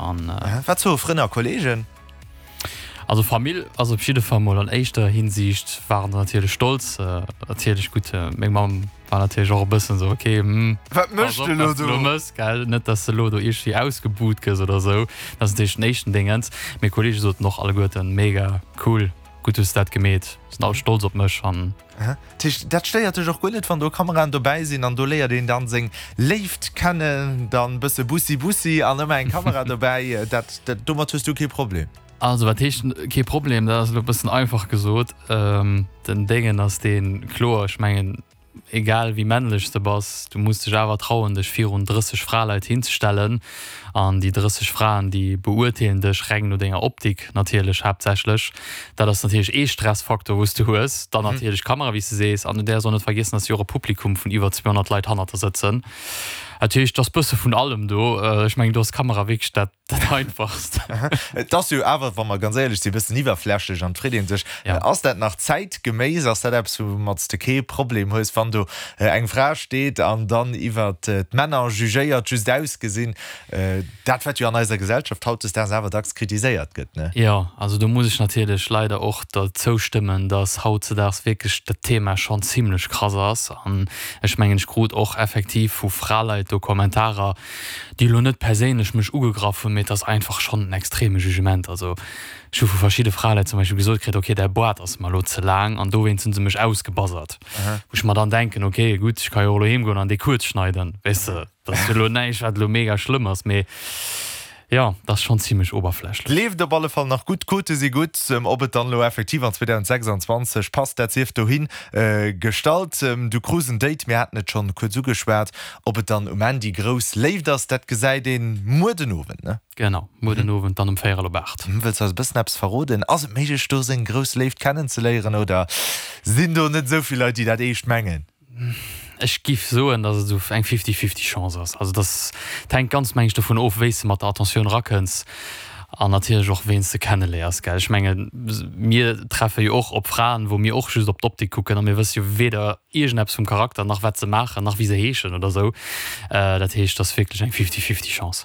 An. Wat soe Frënn a Kolleegen? Also Famill ass op jidde Fall mol an éischter Hinsiicht waren se natierlech stolz. Natierlech gutt, meng Mamm war natierlech och e bëssen esou, ok, hm, Wat pass méchs op de elo wat s de do? elo mëss, gell, net dass de elo do iergendwéi ausgebuht gëss oder esou. Dat ass natierlech den éischten Déngens. Meng Kolleege soten och alleguerten, mega cool, gutt hues de dat gemeet, sinn all stolz op mech an. Dat heescht, dat stéiert dech och guer net, wann do Kameraen dobäi sinn an do léiert een dann seng Léift kennen, dann bësse Bussi Bussi an ëmmer eng Kamera dobäi, dat, dat, domat hues du kee Problem? Also wat heescht kee Problem, dat ass elo e bëssen einfach gesot. Den Déngen ass deen, kloer, ech mengen, egal wéi männlech s de bass, du muss dech awer trauen, dech virun 30 Fraleit hinzestellen an déi 30 Fraen, déi beurteelen dech reng no denger Optik natierlech haaptsächlech. Dat ass natierlech ee Stressfaktor, wou s de hues. Dann natierlech d'Kamera, wéi s de sees. An du däerfs och net vergiessen, dass jo och e Publikum vun iwwer 200 Leit hannert der sëtzen. Dat heescht, et ass bësse vun allem do. Ech mengen, do ass d'Kamera wierklech dat, dat Einfachst. Et ass jo awer, wa mer ganz éierlech sinn, e bëssen iwwerflächlech an et freet ee sech, Ass dat nach zäitgeméiss? Ass dat eppes, woumat s de kee Problem hues, wann do eng Fra steet an dann iwwer d'Männer jugéiert, just ausgesinn? Dat, wat jo an eiser Gesellschaft hautdesdaags awer dacks kritiséiert gëtt, ne? Jo, also do muss ech natierlech leider och der zoustëmmen, dass hautdesdaags wierklech dat Thema schonn zimlech krass ass. An ech mengen, ech krut och effektiv vu Fraleit do Kommentarer, déi elo net perséinlech mech ugegraff hunn, mee et ass einfach schonn en extreme Jugement. Also ech hu vu verschidde Fraleit zum Beispill gesot kritt, okay, däi Boart ass mer elo ze laang, an dowéinst hu se mech ausgebassert. Wou ech mer dann denken, okay, gutt, ech ka jo och elo heemgoen an dee kuerz schneiden, weess de. Dat ass jo elo näischt, wat elo mega schlëmm ass, mee jo, dat ass schonn zimlech oberflächlech. Leeft op alle Fall nach gutt, d'Quote si gutt. Ob et dann elo effektiv an 2026 passt, dat sief dohi gestallt. Du krus en Date, mir haten et schonn kuerz ugeschwat. Ob et dann um Enn déi grouss Léift ass, dat gesäit ee muer den Owend, ne? Genau, muer den Owend dann um véierel op 8. Wëlls du eis e bëssen eppes verroden? Ass et méiglech, do seng grouss Léift kennenzeléieren oder sinn do net esou vill Leit, déi dat eescht mengen? Ech giff soen, dass et esou eng fifty-fifty Chance ass. Also dass, et hänkt ganz meng ech dovun of, wéi s de mat der Attentioun rakënns an natierlech och ween s de kenneléiers, gell. Ech menge mir treffe jo och op Fraen, wou mir och just op d'Optik kucken a mir wësse jo weder iergendeppes vum Charakter, nach wat se maachen, nach wéi se heeschen oder esou. Dat heescht, et ass wierklech eng fifty-fifty Chance.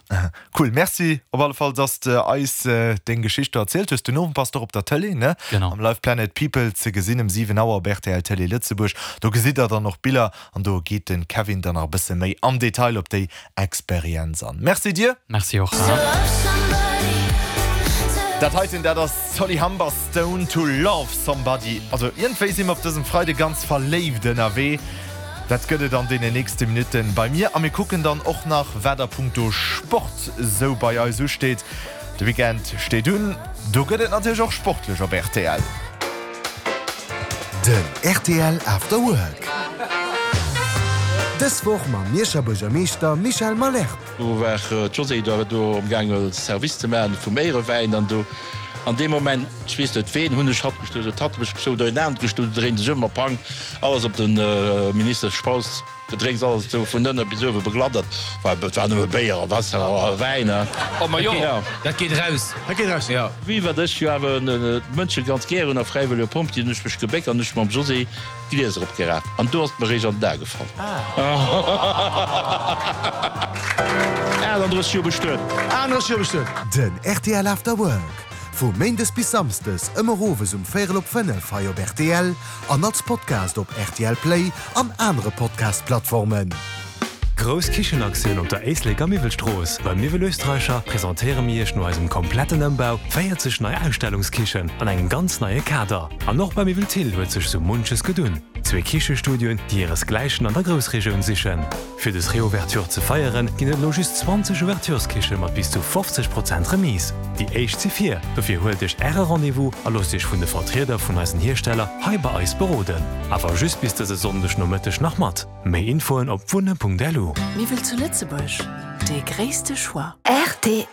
Cool, merci op alle Fall dass de eis deng Geschicht do erzielt hues. Den Owend bass de och op der Tëlee, ne? Genau. Am Live Planet People ze gesinn um 7 Auer op rtl Tëlee Lëtzebuerg. Do gesitt der dann och Biller an do geet den Kevin dann nach e bësse méi am Detail op déi Experienz an. Merci dir! Merci och. Dat heiten, dat ass Solly Humberstone, To Love Somebody. Also iergendwéi si mer op dësem Freide ganz verléift ënnerwee. Dat gëtt et an deenen nächste Minutten bei mir a mir kucken dann och nach, wat a punkto Sport sou bei eis usteet. De Weekend steet un, do gëtt et natierlech och sportlech op rtl. Den rtl After Work. Dës Woch mam Mierscher Buergermeeschter Michel Malherbe. Do war d'Josée do am gaange Service ze maachen vum Éierewäin an do an deem Moment, ech weess net ween, hunn ech hatt gestuer, huet hatt mech gestuer, oder een anert gestuer, do dréint sech ëm a pang, alles op den Minister Spautz, Gedrénks, alles do vun ënne bis uewe begladdert, well et war nëmme Béier a Waasser a Wäin, he. Oh ma jo, dat geet eraus. Dat geet eraus, jo. Wéi wat ech jo awer d'Mënsche ganz gär hunn a fräiwëllege Pompjee, hunn ech mech gebéckt an ech mam Josée d'Glieser opgeraaft an do ass et mer réischt an den A gefall. 38 Joer bestuet. 38 Joer bestuet. Den rtl After Work, vu Méindes bis Samsdes ëmmer owes um véierel op 5 hei op rtl an als Podcast op rtl Play an anere Podcast-Plattformen. Grouss Kichenaktioun op der Éisleker Miwwelstrooss. Beim Miwwel Österreicher presentéiere mir Iech no eisem kompletten Ëmbau 40 nei Ausstellungskichen an engem ganz neie Kader. An och bei Miwwel Thill huet sech sou munches gedunn. Zwee Kichestudioen, déi hiresgläichen an der Groussregioun sichen. Fir des Reouverture ze feieren, ginn et elo just 20 Ouvertureskiche mat bis zu 50 Prozent Remise. Déi éischt si vir, dofir huelt Iech Äre Rendez-vous a loosst Iech vun de Vertrieder vun eisen Hiersteller hei bei eis beroden. Awer just bis dëse Sonndeg Nomëtteg nach mat. Méi Infoen op wunne.lu. Miwwel zu Lëtzebuerg, dee gréisste Choix. Rtl.